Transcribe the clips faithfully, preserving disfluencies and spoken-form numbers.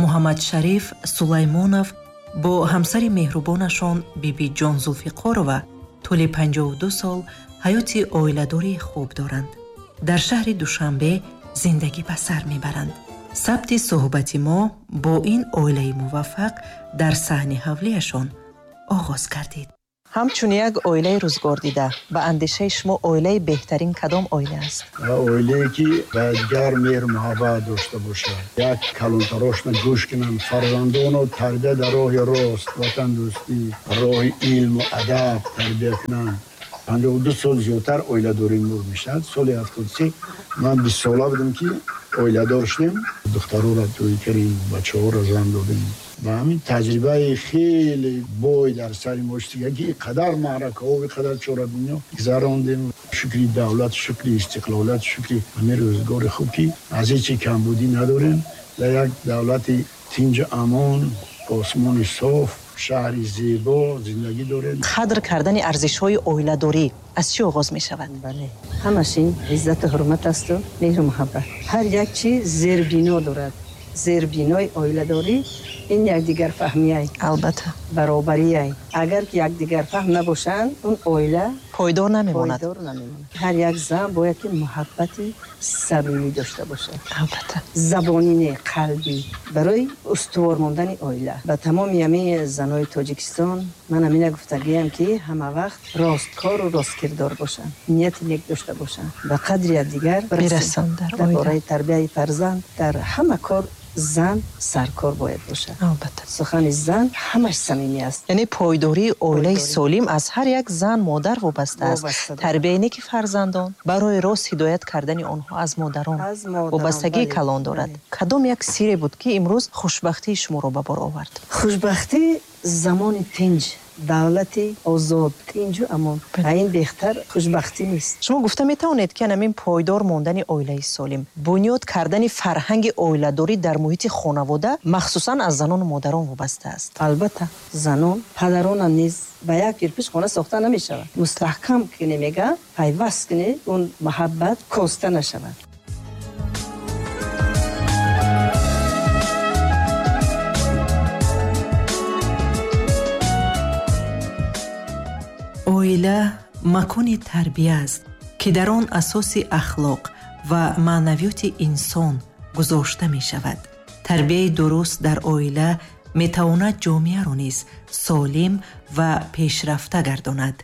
Муҳаммадшариф Сулаймонов бо ҳамсари меҳрубонашон Бибиҷон Зулфиқорова тӯли панҷоҳу ду сол ҳаёти оиладории хуб доранд. Дар шаҳри Душанбе зиндагӣ ба сар мебаранд. Сабти суҳбати мо бо ин оилаи муваффақ дар саҳни ҳавлияшон оғоз гардид. Ҳамчун як оилаи рӯзгордида, ба андешаи шумо оилаи беҳтарин кадом оила аст? Оилае ки ба дигар меҳру муҳаббат дошта бошад, як калонтарошна гӯш кунанд, фарзандонро тарбия дар роҳи рост, ватандӯстӣ, роҳи илму адаб тарбия кунанд. Панҷоҳу ду сол зиёдтар оиладорӣ мур мешавад. Соли ҳафтоду се ман бист сола будам ки оиладор шудем. Духтарора тӯй кардем, бачаҳоро зан додем. Ба ҳамин таҷрибаи хеле бой дар сари мо шуд, ки қадар маъракаҳо, қадар чорабиниҳо гузарондем. Шукри давлат, шукри истиқлолият, шукри ҳамин рӯзгори хуб, ки аз ҳеҷ камбудӣ надорем. Дар як давлати тинҷу амон, осмони соф, шаҳри зебо зиндагӣ дорем. Қадр кардани арзишҳои оиладорӣ аз чӣ оғоз мешавад? Бале, ҳамаш ин иззату ҳурмат асту меҳру муҳаббат. Ҳар як чиз зербино дорад. Зербинои оиладорӣ ин якдигарфаҳмияй. Албатта. Баробарияй. Агар ки якдигарфаҳм набошанд, он оила пойдор намемонад. Пойдор намемонад. Ҳар як зан бояд ки муҳаббати самимӣ дошта бошад. Албатта. Забонӣ не, қалбӣ. Барои устувор мондани оила. Ба тамоми ҳамаи занои Тоҷикистон ман ҳамина гуфтагиям, ки ҳама вақт росткору росткирдор бошанд, нияти нек дошта бошанд, ба қадри якдигар бирасанд дар дар оила. Бораи тарбияи фарзанд, дар ҳама кор зан саркор бояд бошад. Албатта. Сухани зан ҳамаш самимӣ аст. Яъне пойдории оилаи Пойдорӣ. солим аз ҳар як зан модар вобаста аст. Вобаста аст. Тарбияи неки фарзандон барои рост ҳидоят кардани онҳо аз модарон аз модарон, вобастагии бале, калон дорад. Бале. Кадом як сире буд, ки имрӯз хушбахтии шуморо ба бор овард? Хушбахтӣ замони тинҷ, давлати озод, тинҷу амон. Бале. А ин беҳтар хушбахтӣ нест. Шумо гуфта метавонед, ки ҳамин пойдор мондани оилаи солим, бунёд кардани фарҳанги оиладорӣ дар муҳити хонавода махсусан аз занону модарон вобаста аст? Албатта, занон, падаронам низ ба як кирпич хона сохта намешавад. Мустаҳкам кунӣ мега, пайваст кунӣ, он муҳаббат коста нашавад. Оила макони тарбия аст, ки дар он асоси ахлоқ ва маънавиёти инсон гузошта мешавад. Тарбияи дуруст дар оила метавонад ҷомеаро низ солим ва пешрафта гардонад.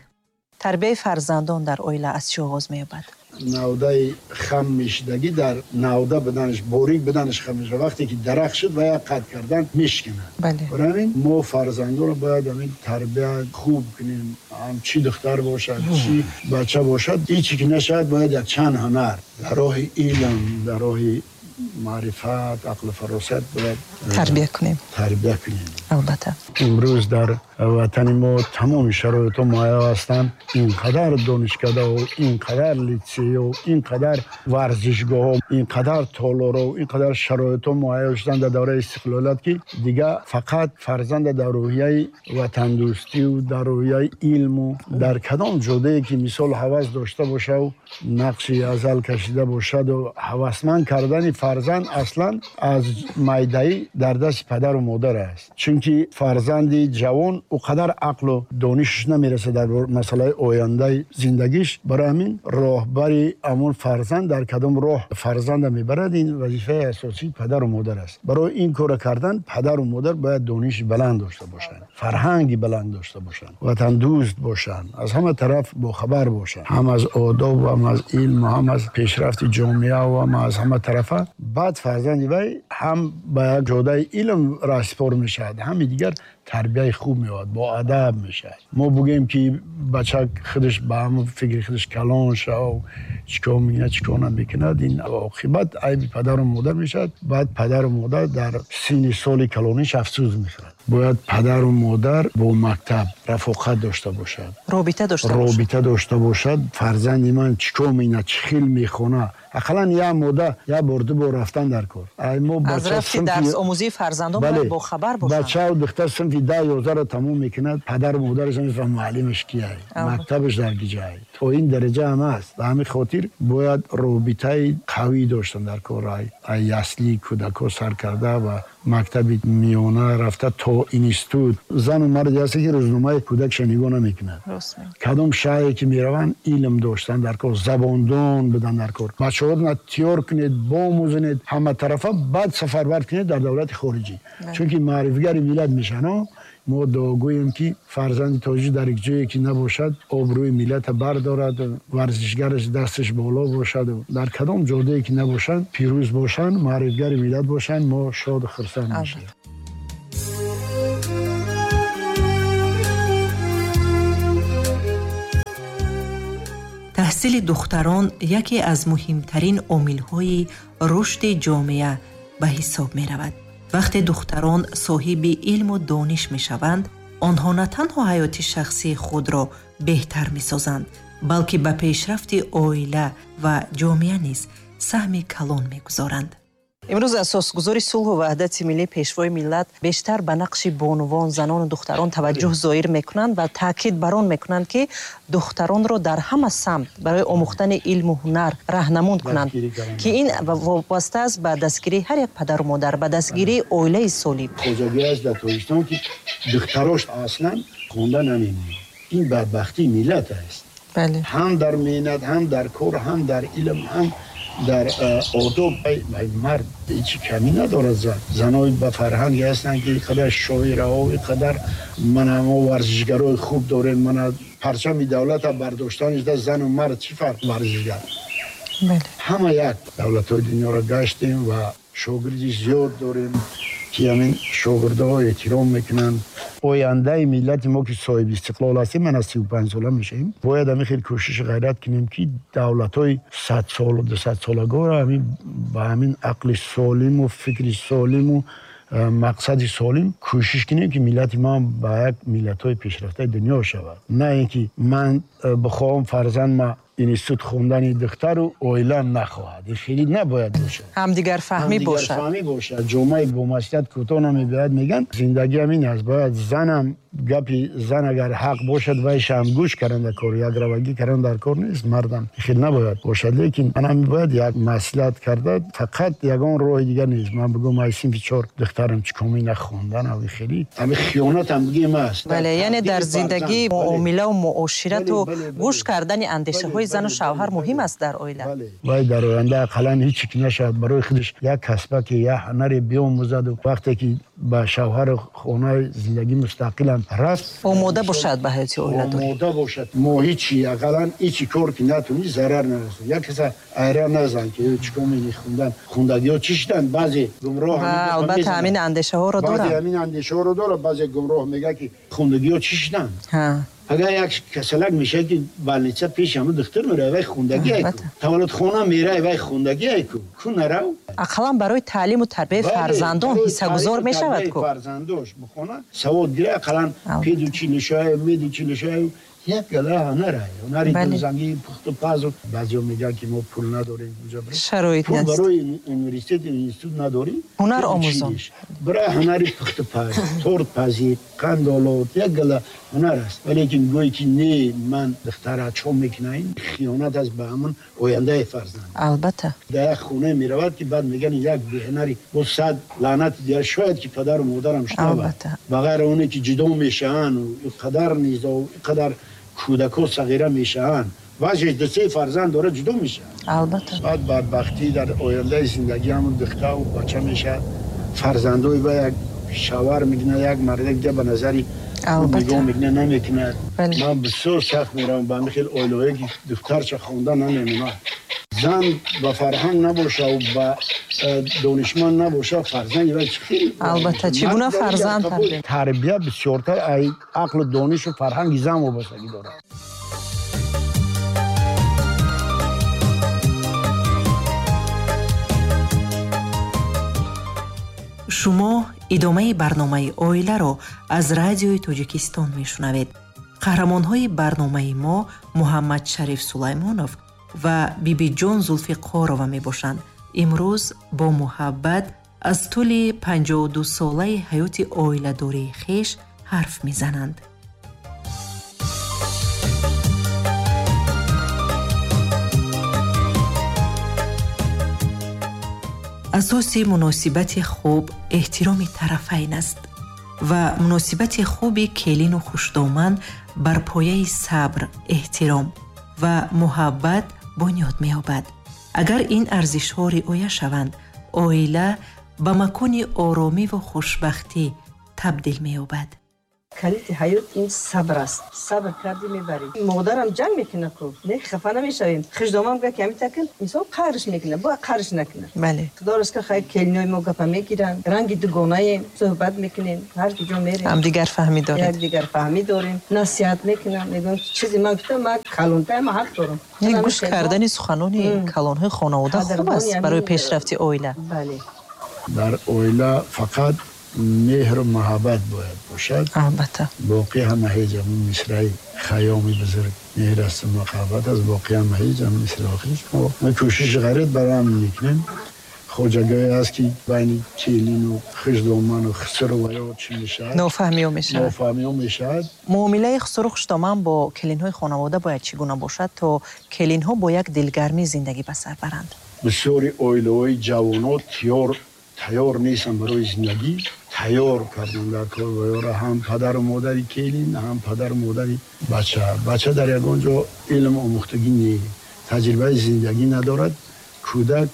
Тарбияи фарзандон дар оила аз чӣ оғоз меёбад? Навдаи хам мешидагӣ дар навда буданаш, борик буданаш хам мешавад. Вақте ки дарахт шуд ва як қад кардан мешканад. Бале. Барои ҳамин мо фарзандонро бояд ҳамин тарбия хуб кунем. Ҳам чӣ духтар бошад, чӣ бача бошад, ҳеҷ ки нашавад, бояд як чанд ҳунар дар роҳи илм, дар роҳи маърифат, ақлу фаросат бояд тарбия кунем. Тарбия кунем. Албатта. Имрӯз дар ватани мо тамоми шароитҳо муҳайё ҳастанд. Ин қадар донишкадаҳо, ин қадар литсейҳо, ин қадар варзишгоҳҳо, ин қадар толорҳо, ин қадар шароитҳо муҳайё шуданд дар давраи истиқлолият, ки дигар фақат фарзанда дар рӯҳияи ватандӯстию дар рӯҳияи илму дар кадом ҷодае ки мисол ҳавас дошта бошаву нақши азал кашида бошаду ҳавасманд кардани фарзанд аслан аз майдаӣ дар дасти падару модар аст. Чунки фарзанди ҷавон ӯ қадар ақлу донишаш намерасад дар масъалаи ояндаи зиндагиш. Барои ҳамин роҳбари ҳамон фарзанд дар кадом роҳ фарзанда мебарад, ин вазифаи асосии падару модар аст. Барои ин корро кардан падару модар бояд дониши баланд дошта бошанд, фарҳанги баланд дошта бошанд, ватандӯст бошанд, аз ҳама тараф бохабар бошанд, ҳам аз одоб, ҳам аз илм, ҳам аз пешрафти ҷомеа ва ҳам аз ҳама тарафа. Баъд фарзанди вай ҳам ба як ҷодаи илм раҳсипор мешавад, ҳами дигар тарбияи хуб меояд, бо адаб мешавад. Мо бугӯем ки бача худаш ба ҳамон фикри худаш калон шав, чӣ кор мекунад, чӣ кор намекунад, ин оқибат айби падару модар мешавад. Баъд падару модар дар синни соли калониш афсӯс мехӯрад. Бояд падару модар бо мактаб рафоқат дошта бошад, робита дошта бошад. Робита дошта бошад. Фарзанди ман чӣ кор мекунад, чӣ хел мехонад, Ақаллан як мода як бор ду бор рафтан дар кор. Ай мо аз рафти дарс омӯзии фарзандон бояд бохабар бошанд. Бача духтар синфи даҳ ёздаҳро тамом мекунад, падару модараш намефаҳмад муаллимаш кияй, мактабаш дар киҷай. То ин дараҷа ҳам аст. Ба ҳамин хотир бояд робитаи қавӣ доштан дар кор. Ай ясли кӯдакҳо сар карда ва мактаби миёна рафта то институт. Зану марде ҳаст ки рӯзномаи кӯдакша нигоҳ намекунад. Кадом шаҳре ки мераванд, илм доштан дар кор, забондон будан дар кор. Бачаҳоро тиёр кунед, бомӯзонед ҳаматарафа, баъд сафарбар кунед дар давлати хориҷӣ. Чунки маърифгари миллат мешаванд. Мо дуогӯем ки фарзанди тоҷик дар як ҷое ки набошад, обрӯи миллата бардорад, варзишгараш дасташ боло бошад, дар кадом ҷодае ки набошанд, пирӯз бошанд, маърифгари миллат бошанд, мо шоду хурсанд мешавем. Таҳсили духтарон яке аз муҳимтарин омилҳои рушди ҷомеа ба ҳисоб меравад. Вақте духтарон соҳиби илму дониш мешаванд, онҳо на танҳо ҳаёти шахсии худро беҳтар месозанд, балки ба пешрафти оила ва ҷомеа низ саҳми калон мегузоранд. Имрӯз асосгузори сулҳу ваҳдати миллӣ, пешвои миллат бештар ба нақши бонувон, занону духтарон таваҷҷӯҳ зоҳир мекунанд ва таъкид бар он мекунанд, ки духтаронро дар ҳама самт барои омӯхтани илму ҳунар раҳнамун кунанд, ки ин вобаста аст ба дастгирии ҳар як падару модар, ба дастгирии оилаи солим. Хоҷагӣ аст дар Тоҷикистон, ки духтарош аслан хонда намемонанд. Ин бадбахтии миллат аст. Ҳам дар меҳнат, ҳам дар кор, ҳам дар илм, ҳам дар одоб. Мард ҳеҷ камӣ надорад. Зан занои ба фарҳанге ҳастанд, ки қадар шоираҳо, қадар мана мо варзишгарои хуб дорем, мана парчами давлата бардоштанаш да зану мард чӣ фарқ варзишгар? Ҳама як. Давлатҳои дунёро гаштем ва шогирди зиёд дорем, ки ҳамин шогирдҳо эҳтиром мекунанд. Ояндаи миллати мо ки соҳиби истиқлол ҳастем, ман аз сию панҷ сола мешавем, бояд ҳамин хел кӯшиши ғайрат кунем, ки давлатҳои садсолу дусадсолагоро ҳамин ба ҳамин ақли солиму фикри солиму мақсади солим кӯшиш кунем, ки миллати мо ба як миллатҳои пешрафтаи дунё шавад. На ин ки ман бихоҳам фарзанд институт хондани духтару оила нахоҳад. Ин хеле набояд бошад. Ҳамдигарфаҳмӣ бошад. Ҳамдигарфаҳмӣ бошад. Ҷомеаи бомасъулият кӯтоҳ намебиёяд, мегӯянд. Зиндагӣ ҳамин аст. Бояд занам гапи зан агар ҳақ бошад, вайшам гӯш кардан дар кор, якравагӣ кардан дар кор нест. Мардам хеле набояд бошад, лекин манам бояд як маслиҳат карда, фақат ягон роҳи дигар нест. Ман бигӯям ай синфи чор духтарам чӣ коми нахондан, ави хеле ҳамин хиёнат ҳам бигем аст. Бале, яъне дар зиндагӣ муомилаву муоширату гӯш кардани андешаҳои зану шавҳар муҳим аст дар оила. Вай дар оянда ақаллан ҳеҷ ки нашавад, барои худаш як касбаке, як ҳунаре биомӯзаду вақте ки ба шавҳару хонаи зиндагӣ мустақилан рафт, омода бошад ба ҳаёти оиладорӣ. Омода бошад. Мо ҳечи ақаллан ҳечи кор ки натунӣ, зарар нарасад. Як каса айра назан ки чӣ кор мени хундан, хундагиҳо чӣ шуданд? Баъзе гумроҳ, албатта ҳамин андешаҳоро доранд. Баъзе ҳамин андешаҳоро дорад, баъзе гумроҳ мегӯяд ки хундагиҳо чӣ шуданд? Агар як касалак мешавад ки больница пеш ҳама духтур меравад, вай хундагӣ айку. Таваллудхона меравад, вай хундагӣ айку. Ку нарав? Ақаллан барои таълиму тарбияи фарзандон ҳиссагузор мешавад ку. Фарзандош бихона, савод гира, ақаллан педучилищае, медучилищае, як гала ҳунар ай. Ҳунари дӯзангӣ, пухту пазу. Баъзеҳо мегӯянд ки мо пул надорем, куҷо барем? Шароит пул нест. Барои университет, институт надорем. Ҳунар омӯзон. Бира ҳунари пухту паз, тортпазӣ, қандолот, як гала ҳунар аст. Валекин гӯе ки не, ман духтара чо мекунам, ин хиёнат аст ба ҳамон ояндаи фарзанд. Албатта. Дар як хона меравад ки баъд мегӯянд як беҳунари бо сад лаънати дигар, шояд ки падару модарам шунавад. Албатта. Ба ғайр оне ки ҷудо мешаванд, ин қадар низо, ин қадар кӯдакҳо сағира мешаванд. Баъзеш ду се фарзанд дорад, ҷудо мешаванд. Албатта. Баъд бадбахтӣ дар ояндаи зиндагӣ ҳамон духтару бача мешавад. Фарзандои ба як шавҳар мекунад, як мардак дига ба назари нигоҳ мекунад, намекунад. Ман бисёр сахт меравам ба ҳамин хел оилаҳое ки духтарча хонда намемонад. Зан ба фарҳанг набошад, ба донишманд набошад, фарзанди вай чӣ хел? Албатта, чӣ гуна фарзанд тарбия? Тарбия бисёртар ай ақлу донишу фарҳанги зан вобастагӣ дорад. Шумо идомаи барномаи оиларо аз радиои Тоҷикистон мешунавед. Қаҳрамонҳои барномаи мо Муҳаммадшариф Сулаймонов ва Бибиҷон Зулфиқорова мебошанд. Имрӯз бо муҳаббат аз тӯли панҷоҳу ду солаи ҳаёти оиладории хеш ҳарф мезананд. Асоси муносибати хуб эҳтироми тарафайн аст ва муносибати хуби келину хушдоман бар пояи сабр, эҳтиром ва муҳаббат бунёд меёбад. Агар ин арзишҳо риоя шаванд, оила ба макони оромиву хушбахтӣ табдил меёбад. Калиди ҳаёт ин сабр аст. Сабр кардӣ мебарӣ. Модарам ҷанг мекунад ку, не хафа намешавем. Хушдомам га ки ҳамин такин инсон қарш мекунад, бояд қарш накунад. Бале. Худо ризқ хайр, келинои мо гапа мегиранд, ранги дугонаем, суҳбат мекунем, ҳар ки ҷо мерем. Ҳамдигар фаҳмӣ доред. Якдигар фаҳмӣ дорем, насиҳат мекунам, мегӯям чизе ман гуфтам, ман калонтаам, ман ҳақ дорам. Яъне гӯш кардани суханони калонҳои хонавода хуб аст барои пешрафти оила. Бале. Дар оила фақат меҳру муҳаббат бояд бошад. Албатта. Боқӣ ҳама ҳеҷ, ҳамун мисраи Хайёми бузург меҳр аст ва муҳаббат аст, боқӣ ҳама ҳеҷ, ҳамун мисраи охириш. Мо кӯшиши ғайрат барои ҳамин мекунем. Хоҷагое аст ки байни келину хушдоману хусру ва ё чӣ мешавад, нофаҳмиҳо мешавад. Нофаҳмиҳо мешавад. Муомилаи хусру хушдоман бо келинҳои хонавода бояд чӣ гуна бошад, то келинҳо бо як дилгармӣ зиндагӣ ба сар баранд? Бисёри оилаҳои ҷавонот тиёр тайёр нестанд барои зиндагӣ. Тайёр кардан дар кор ва ёра ҳам падару модари келин, ҳам падару модари бача. Бача дар ягон ҷо илм омӯхтагӣ не, таҷрибаи зиндагӣ надорад. Кӯдак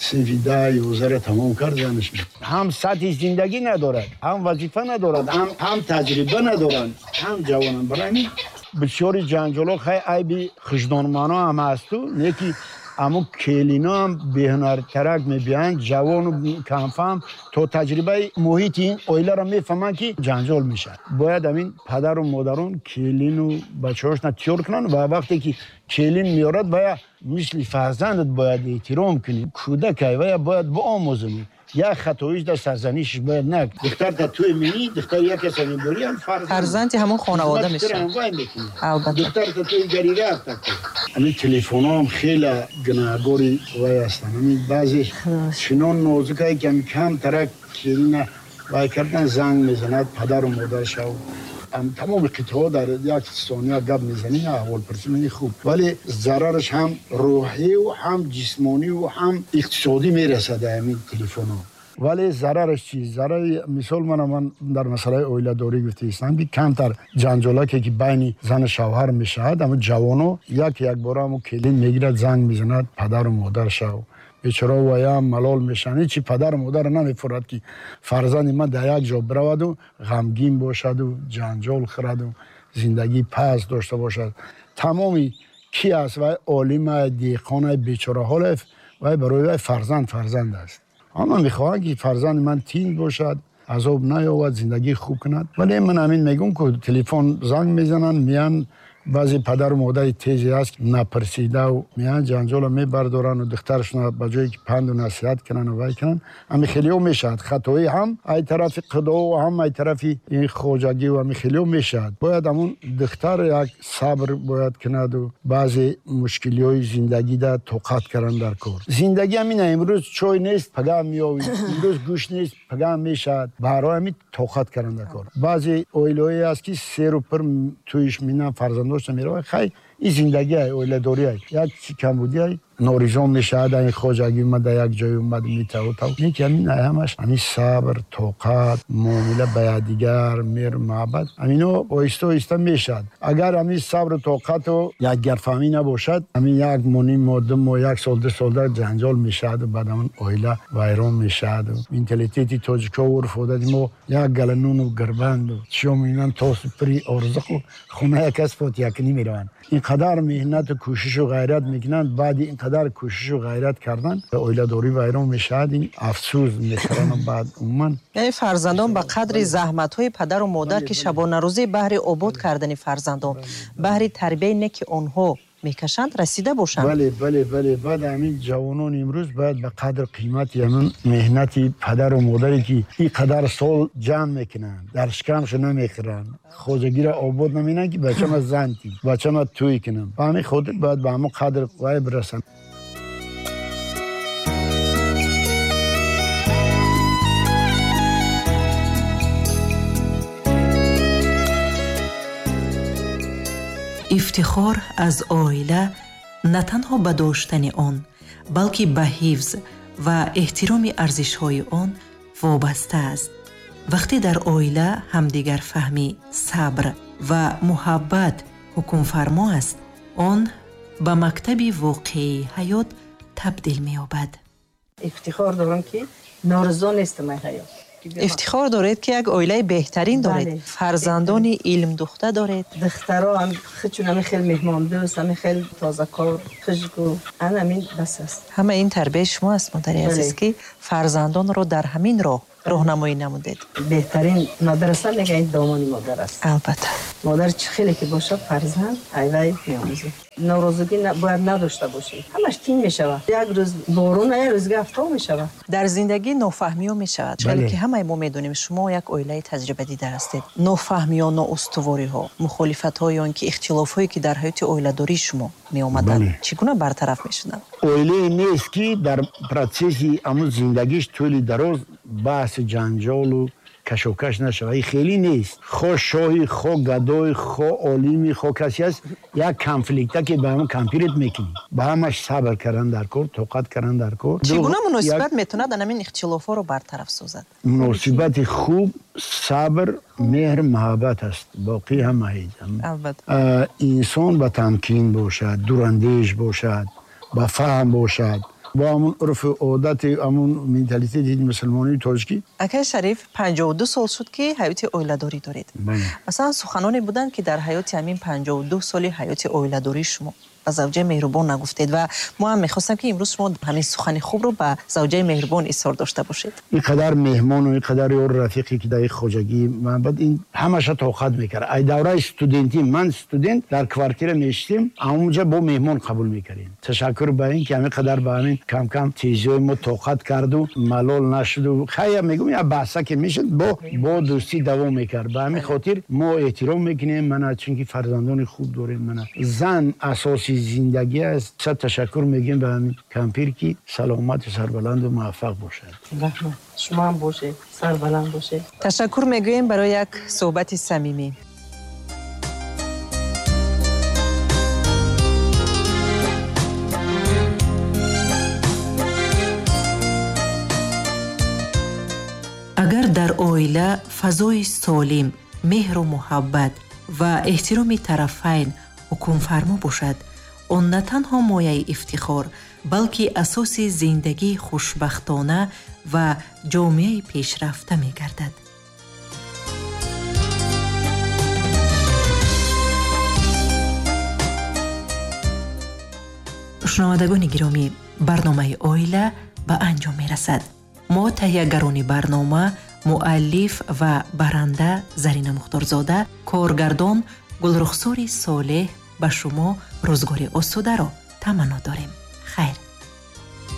синфи даҳ ёздаҳро тамом кард, занаш мешавад. Ҳам сатҳи зиндагӣ надорад, ҳам вазифа надорад, ҳам таҷриба надоранд, ҳам ҷавонанд. Барои ҳамин бисёри ҷанҷолҳо хай айби хушдонмано ҳам ҳасту, не ки аммо келино ҳам беҳунартарак мебиёянд, ҷавону камфаҳм то таҷрибаи муҳити ин оиларо мефаҳманд ки ҷанҷол мешавад. Бояд ҳамин падару модарон келину бачаҳошона тиёр кунанд ва вақте ки келин меорад, вая мисли фарзандат бояд эҳтиром кунӣ. Кӯдакай вая бояд биомӯзонӣ. Як хатоиш дар сарзанишш бояд накунӣ. Духтарта туй менӣ, духтари як каса меборӣ, ҳам фарзанд. Фарзанди ҳамон хонавода мешавад. Албатта. Духтарта туй гари рафта ку. Ҳамин телефонҳо ҳам хеле гунаҳгори вай ҳастанд. Ҳамин баъзе чунон нозукае ки ҳамин камтарак келина вай кардан занг мезанад падару модаршав. Тамоми қитъаҳо дар як сония гап мезанӣ, аҳволпурсӣ мекунӣ, хуб. Вале зарараш ҳам рӯҳию ҳам ҷисмонию ҳам иқтисодӣ мерасад ҳамин телефонҳо. Вале зарараш чист? Зарари мисол мана ман дар масъалаи оиладорӣ гуфтаистам ки камтар ҷанҷолаке ки байни зану шавҳар мешавад, ҳамун ҷавоно як якбора ҳамун келин мегирад, занг мезанад падару модаршав. Бечора ваям малол мешаванд. Ҳечи падару модарро намефурад ки фарзанди ман дар як ҷо бираваду ғамгин бошаду ҷанҷол хӯраду зиндагии паст дошта бошад. Тамоми ки аст вай олима, деҳқона, бечораҳоле, вай барои вай фарзанд фарзанд аст. Ҳама мехоҳанд ки фарзанди ман тинг бошад, азоб наёвад, зиндагии хуб кунад. Вале ман ҳамин мегӯм ку телефон занг мезананд, меянд. Баъзе падару модари тезе ҳаст напурсидаву меянд ҷанҷолро мебардоранду духтарашонро ба ҷое ки панду насиҳат кунанду вай кунанд, ҳамин хелиҳо мешавад. Хатоӣ ҳам ай тарафи қудову ҳам ай тарафи ин хоҷагиву ҳамин хелиҳо мешавад. Бояд ҳамун духтар як сабр бояд кунаду баъзе мушкилиҳои зиндагида тоқат кардан дар кор. Зиндагӣ ҳамина, имрӯз чой нест, пагаҳ меёвӣ, имрӯз гӯшт нест, пагаҳ мешавад. Барои ҳамин тоқат кардан дар кор. Баъзе оилаҳое ҳаст ки серу пир тӯйиш минанд, фарзандош меравад. Хай, ин зиндагӣ ай, оиладорӣ ай. Як чи камбудӣ ай, норизон мешавад, ин хоҷагӣ омад, дар як ҷой омад, метаву тав. Не ки ҳамин ай ҳамаш ҳамин сабр, тоқат, муомила ба якдигар, меҳру муҳаббат, ҳамино оҳиста оҳиста мешавад. Агар ҳамин сабру тоқату якгарфаҳмӣ набошад, ҳамин як моҳ, ним моҳ, ду моҳ, як сол, ду сол дар ҷанҷол мешаваду баъд ҳамон оила вайрон мешаваду. Менталитети тоҷикҳо, урфу одати мо як гала нуну гирбанду чиё мебинанд, тосу пири орзуқу хона як кас фотиҳакунӣ мераванд. Инқадар меҳнату кӯшишу ғайрат мекунанд, баъди инқадар кӯшишу ғайрат кардан оиладорӣ вайрон мешавад. Ин афсӯс мехӯранд баъд умуман. Яъне фарзандон ба қадри заҳматҳои падару модар ки шабонарӯзӣ баҳри обод кардани фарзандон, баҳри тарбияи неки онҳо мекашанд расида бошанд. Бале, бале, бале. Баъд ҳамин ҷавонон имрӯз бояд ба қадр қимати ҳамин меҳнати падару модаре ки ин қадар сол ҷамъ мекунанд, дар шикамшо намехӯранд, хоҷагиро обод намекунанд ки бачама зан тӣ, бачама тӯй кунам. Ба ҳамин хотир бояд ба ҳамон қадр вай бирасанд. Ифтихор аз оила на танҳо ба доштани он, балки ба ҳифз ва эҳтироми арзишҳои он вобаста аст. Вақте дар оила ҳамдигарфаҳмӣ, сабр ва муҳаббат ҳукмфармо аст, он ба мактаби воқеии ҳаёт табдил меёбад. Ифтихор дорам, ки норизо нестам аз ҳаёт. Ифтихор доред, ки як оилаи беҳтарин доред, фарзандони илмдухта доред. Духтаро ҳам чун ҳамин хел меҳмондӯст, ҳамин хел тозакор, хушгӯ, ана ҳамин бас аст. Ҳама ин тарбияи шумо аст, модари азиз, ки фарзандонро дар ҳамин роҳ роҳнамоӣ намудед. Беҳтарин мадраса мегӯянд ин домони модар аст. Албатта. Модар чӣ хеле ки бошад, фарзанд айвай меомӯзад. Норозигӣ бояд надошта бошӣ. Ҳамаш тин мешавад. Як рӯз борон, як рӯз офтоб мешавад. Дар зиндагӣ нофаҳмиҳо мешавад. Чун ки ҳамаи мо медонем, шумо як оилаи таҷрибадида ҳастед. Нофаҳмиҳо, ноустувориҳо, мухолифатҳо ё ин ки ихтилофҳое ки дар ҳаёти оиладории шумо меомаданд, чӣ гуна бартараф мешуданд? Оилае нест ки дар процесси ҳамун зиндагиш тӯли дароз баҳси ҷанҷолу кашокаш нашавад. Ин хеле нест. Хо шоҳи, хо гадой, хо олими, хо касе аст, як конфликта ки ба ҳамон компирит мекунӣ. Ба ҳамаш сабр кардан дар кор, тоқат кардан дар кор. Чӣ гуна муносибат метавонад ҳамин ихтилофҳоро бартараф созад? Муносибати хуб, сабр, меҳр, муҳаббат аст. Боқӣ ҳама ҳеҷ. Албатта. Инсон ба тамкин бошад, дурандеш бошад, ба фаҳм бошад, бо ҳамун урфу одати, ҳамун менталитети мусулмонии тоҷикӣ. Акай Шариф, панҷоҳу ду сол шуд ки ҳаёти оиладорӣ доред. Масалан, суханоне буданд ки дар ҳаёти ҳамин панҷоҳу ду соли ҳаёти оиладории шумо ба завҷаи меҳрубон нагуфтед ва мо ҳам мехостем ки имрӯз шумо ҳамин сухани хубро ба завҷаи меҳрубон изҳор дошта бошед. ин қадар меҳмону ин қадар ёру рафиқе ки дар ин хоҷагӣ ман баъд ин ҳамаша тоқат мекард. Ай давраи студентӣ, ман студент дар квартира мешистем, ҳамонҷа бо меҳмон қабул мекардем. Ташаккур ба ин ки ҳамин қадар ба ҳамин кам-кам тезиҳои мо тоқат карду малол нашуду. Хая мегӯм, як баҳса ки мешуд, бо бо дӯстӣ давом мекард. Ба ҳамин хотир мо эҳтиром мекунем мана, чунки фарзандони хуб дорем. Мана зан асоси зиндагӣ аст. Сад ташаккур мегӯем ба ҳамин кампир ки саломату сарбаланду муваффақ бошад. Раҳмат. Шумо ҳам бошед, сарбаланд бошед. Ташаккур мегӯем барои як суҳбати самимӣ. Агар дар оила фазои солим, меҳру муҳаббат ва эҳтироми тарафайн ҳукмфармо бошад, он на танҳо мояи ифтихор, балки асоси зиндагии хушбахтона ва ҷомеаи пешрафта мегардад. Шунавандагони гиромӣ, барномаи оила ба анҷом мерасад. Мо таҳиягарони барнома, муаллиф ва баранда Зарина Мухторзода, коргардон Гулрухсори Солеҳ ба шумо рӯзгори осударо таманно дорем. Хайр.